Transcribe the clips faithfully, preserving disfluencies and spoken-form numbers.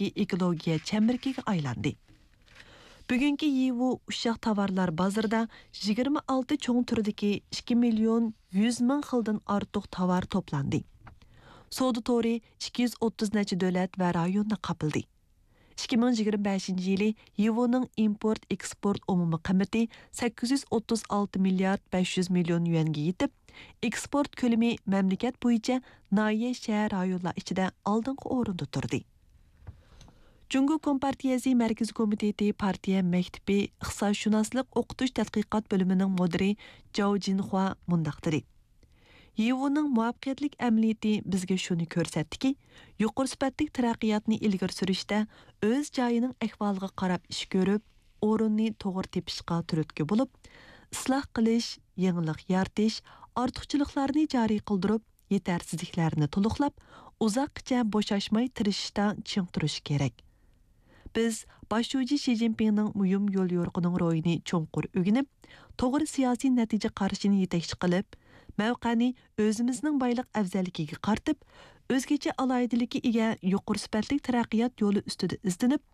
ئېكولوگىيە چەمبىرىكىگە ئايلاندى. بۈگۈنكى يىۋۇ ئۇششاق تاۋارلار بازىرىدا يىگىرمە ئالتە چوڭ تۈردىكى ئىككى مىليون يۈز مىڭ خىلدىن ئارتۇق تاۋار توپلاندى. سودا تورى ئىككى يۈز ئوتتۇز نەچچە دۆلەت ۋە رايوننى قاپلىدى. ئىككى مىڭ يىگىرمە بەشىنچى يىلى يىۋۇنىڭ ئىمپورت ئېكسپورت ئومۇمىي قىممىتى سەككىز يۈز ئوتتۇز ئالتە مىليارد بەش يۈز مىليون يۈەنگە يېتىپ، ئېكسپورت كۆلىمى مەملىكەت بويىچە ناھىيە، شەھەر، رايونلار ئىچىدە ئالدىنقى ئورۇندا تۇردى. جۇڭگو كومپارتىيەسى مەركىزىي كومىتېتى پارتىيە مەكتىپى ئىقتىسادشۇناسلىق ئوقۇتۇش تەتقىقات بۆلۈمىنىڭ مۇدىرى جاۋ جىنخۇا مۇنداق دېدى: يىۋۇنىڭ مۇۋەپپەقىيەتلىك ئەمەلىيىتى بىزگە شۇنى كۆرسەتتىكى، يۇقىرى سۈپەتلىك تەرەققىياتنى ئىلگىرى سۈرۈشتە ئۆز جايىنىڭ ئەھۋالىغا قاراپ ئىش كۆرۈپ، ئورۇننى توغرا تېپىشقا تۈرتكە بولۇپ، ئىسلاھ قىلىش، يېڭىلىق يارىتىش، ئارتۇقچىلىقلارنى جارى قىلدۇرۇپ، يېتەرسىزلىكلەرنى تولۇقلاپ، ئۇزاققىچە بوشاشماي تىرىشىشتا چىڭ تۇرۇش كېرەك. بىز باش شۇجى شى جىنپىڭنىڭ مۇھىم يوليورۇقىنىڭ روھىنى چوڭقۇر ئۆگىنىپ، توغرا سىياسىي نەتىجە قارىشىنى يېتەكچى قىلىپ، مەۋقەنى ئۆزىمىزنىڭ بايلىق ئەۋزەللىكىگە قارىتىپ، ئۆزگىچە ئالاھىدىلىككە ئىگە يۇقىرى سۈپەتلىك تەرەققىيات يولى ئۈستىدە ئىزدىنىپ،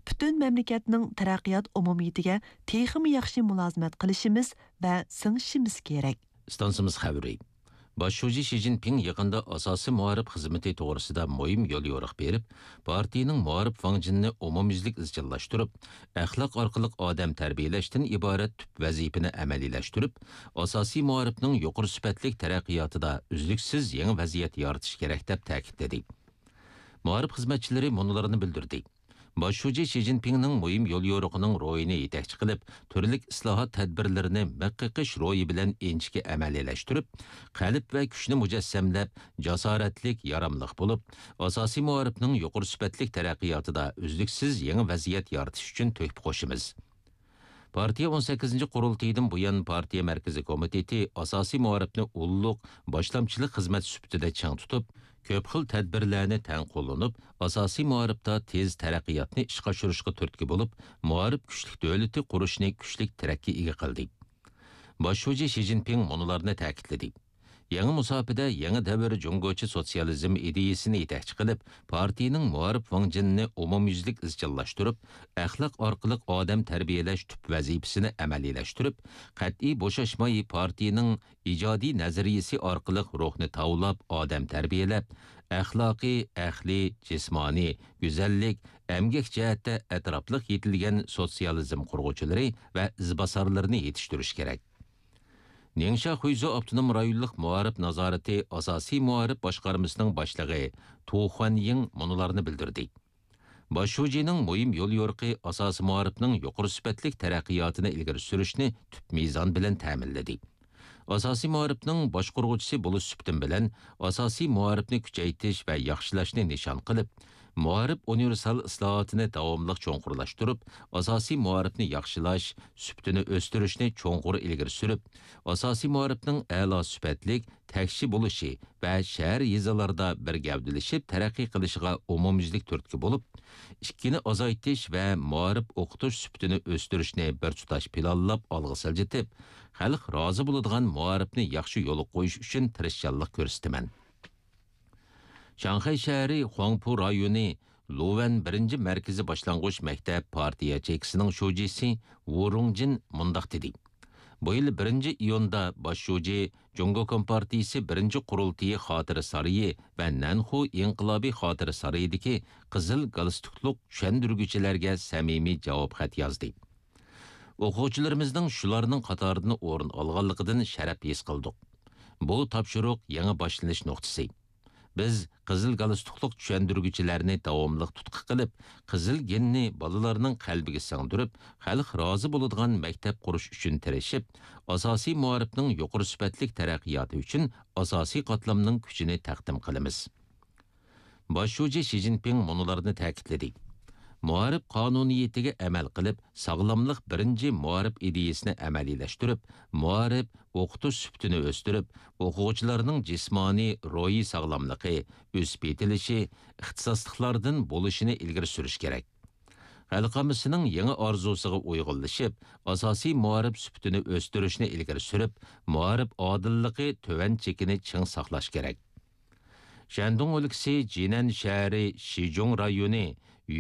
پۈتۈن مەملىكەتنىڭ تەرەققىيات ئومۇمىيىتىگە تېخىمۇ ياخشى مۇلازىمەت قىلىشىمىز ۋە سىڭىشىمىز كېرەك. ئىستانسىمىز خەۋىرى. باش شۇجى شى جىنپىڭ يېقىندا ئاساسىي مائارىپ خىزمىتى توغرىسىدا مۇھىم يوليورۇق بېرىپ، پارتىيىنىڭ مائارىپ ۋاڭجېنىنى ئومۇميۈزلۈك ئىزچىللاشتۇرۇپ، ئەخلاق ئارقىلىق ئادەم تەربىيەلەشتىن ئىبارەت تۈپ ۋەزىپىنى ئەمەلىيلەشتۈرۈپ، ئاساسىي مائارىپنىڭ يۇقىرى سۈپەتلىك تەرەققىياتىدا ئۈزلۈكسىز يېڭى ۋەزىيەت يارىتىشى كېرەك، دەپ تەكىتلىدى. مائارىپ خىزمەتچىلىرى مۇنۇلارنى بىلدۈردى. باش شۇجى شى جىنپىڭنىڭ مۇھىم يوليورۇقىنىڭ روھىنى يېتەكچى قىلىپ، تۈرلۈك ئىسلاھات تەدبىرلىرىنى مىخ قېقىش روھى بىلەن ئىنچىكە ئەمەلىيلەشتۈرۈپ، قەلب ۋە كۈچنى مۇجەسسەملەپ، جاسارەتلىك، ياراملىق بولۇپ، ئاساسىي مائارىپنىڭ يۇقىرى سۈپەتلىك تەرەققىياتىدا ئۈزلۈكسىز يېڭى ۋەزىيەت يارىتىش ئۈچۈن تۆھپە قوشىمىز. پارتىيە ئون سەككىزىنچى قۇرۇلتىيىدىن بۇيان، پارتىيە مەركىزىي كومىتېتى ئاساسىي مائارىپنى ئۇللۇق باشلامچىلىق خىزمەت سۈپىتىدە چىڭ تۇتۇپ، كۆپ خىل تەدبىرلەرنى تەڭ قوللىنىپ، ئاساسىي مائارىپتا تېز تەرەققىياتنى ئىشقا ئاشۇرۇشقا تۈرتكە بولۇپ، مائارىپ كۈچلۈك دۆلىتى قۇرۇشنى كۈچلۈك تىرەككە ئىگە قىلدى. باش شۇجى شى جىنپىڭ مۇنۇلارنى تەكىتلىدى. يېڭى مۇساپىدە يېڭى دەۋر جۇڭگوچە سوتسىيالىزم ئىدىيىسىنى يېتەكچى قىلىپ، پارتىيىنىڭ مائارىپ ۋاڭجېنىنى ئومۇميۈزلۈك ئىزچىللاشتۇرۇپ، ئەخلاق ئارقىلىق ئادەم تەربىيەلەش تۈپ ۋەزىپىسىنى ئەمەلىيلەشتۈرۈپ، قەتئىي بوشاشماي پارتىيىنىڭ ئىجادىي نەزەرىيىسى ئارقىلىق روھنى تاۋلاپ، ئادەم تەربىيەلەپ، ئەخلاقىي، ئەقلىي، جىسمانىي، گۈزەللىك، ئەمگەك جەھەتتە ئەتراپلىق يېتىلگەن سوتسىيالىزم قۇرغۇچىلىرى ۋە ئىزباسارلىرىنى يېتىشتۈرۈش كېرەك. نىڭشيا خۇيزۇ ئاپتونوم رايونلۇق مائارىپ نازارىتى ئاساسىي مائارىپ باشقارمىسىنىڭ باشلىقى تو خۇەنيىڭ مۇنۇلارنى بىلدۈردى. باش شۇجىنىڭ مۇھىم يوليورۇقى ئاساسىي مائارىپنىڭ يۇقىرى سۈپەتلىك تەرەققىياتىنى ئىلگىرى سۈرۈشنى تۈپ مىزان بىلەن تەمىنلىدى. ئاساسىي مائارىپنىڭ باشقۇرغۇچىسى بولۇش سۈپىتىم بىلەن، ئاساسىي مائارىپنى كۈچەيتىش ۋە ياخشىلاشنى نىشان قىلىپ، مائارىپ ئۇنىۋېرسال ئىسلاھاتىنى داۋاملىق چوڭقۇرلاشتۇرۇپ، ئاساسىي مائارىپنى ياخشىلاش، سۈپىتىنى ئۆستۈرۈشنى چوڭقۇر ئىلگىرى سۈرۈپ، ئاساسىي مائارىپنىڭ ئەلا سۈپەتلىك، تەكشى بولۇشى ۋە شەھەر، يېزىلاردا بىر گەۋدىلىشىپ تەرەققىي قىلىشىغا ئومۇميۈزلۈك تۈرتكە بولۇپ، ئىككىنى ئازايتىش ۋە مائارىپ ئوقۇتۇش سۈپىتىنى ئۆستۈرۈشنى بىر تۇتاش پىلانلاپ ئالغا سىلجىتىپ، خەلق رازى بولىدىغان مائارىپنى ياخشى يولغا قويۇش ئۈچۈن تىرىشچانلىق كۆرسىتىمەن. شاڭخەي شەھىرى خۇاڭپۇ رايونى لۇۋەن بىرىنچى مەركىزىي باشلانغۇچ مەكتەپ پارتىيە چېكىسىنىڭ شۇجىسى ۋۇ رۇڭجىن مۇنداق دېدى. بۇ يىل بىرىنچى ئىيۇندا باش شۇجى جۇڭگو كومپارتىيىسى بىرىنچى قۇرۇلتىيى خاتىرە سارىيى ۋە نەنخۇ ئىنقىلابىي خاتىرە سارىيىدىكى قىزىل گالستۇكلۇق چۈشەندۈرگۈچىلەرگە سەمىمىي جاۋاب خەت يازدى. ئوقۇغۇچىلىرىمىزنىڭ شۇلارنىڭ قاتارىدىن ئورۇن ئالغانلىقىدىن شەرەپ ھېس قىلدۇق. بۇ تاپشۇرۇق يېڭى باشلىنىش نۇقتىسى. بىز قىزىل گالستۇكلۇق چۈشەندۈرگۈچىلەرنى داۋاملىق تۇتقا قىلىپ، قىزىل گېننى بالىلارنىڭ قەلبىگە سىڭدۈرۈپ، خەلق رازى بولىدىغان مەكتەپ قۇرۇش ئۈچۈن تىرىشىپ، ئاساسىي مائارىپنىڭ يۇقىرى سۈپەتلىك تەرەققىياتى ئۈچۈن ئاساسىي قاتلامنىڭ كۈچىنى تەقدىم قىلىمىز. باش شۇجى شى جىنپىڭ مۇنۇلارنى تەكىتلىدى. مائارىپ قانۇنىيىتىگە ئەمەل قىلىپ، ساغلاملىق بىرىنچى مائارىپ ئىدىيىسىنى ئەمەلىيلەشتۈرۈپ، مائارىپ، ئوقۇتۇش سۈپىتىنى ئۆستۈرۈپ، ئوقۇغۇچىلارنىڭ جىسمانىي، روھىي ساغلاملىقى، ئۆسۈپ يېتىلىشى، ئىختىساسلىقلاردىن بولۇشىنى ئىلگىرى سۈرۈش كېرەك. خەلق ئاممىسىنىڭ يېڭى ئارزۇسىغا ئۇيغۇنلىشىپ، ئاساسىي مائارىپ سۈپىتىنى ئۆستۈرۈشنى ئىلگىرى سۈرۈپ، مائارىپ ئادىللىقى تۆۋەن چېكىنى چىڭ ساقلاش كېرەك. شەندۇڭ ئۆلكىسى جىنەن شەھىرى شىجۇڭ رايونى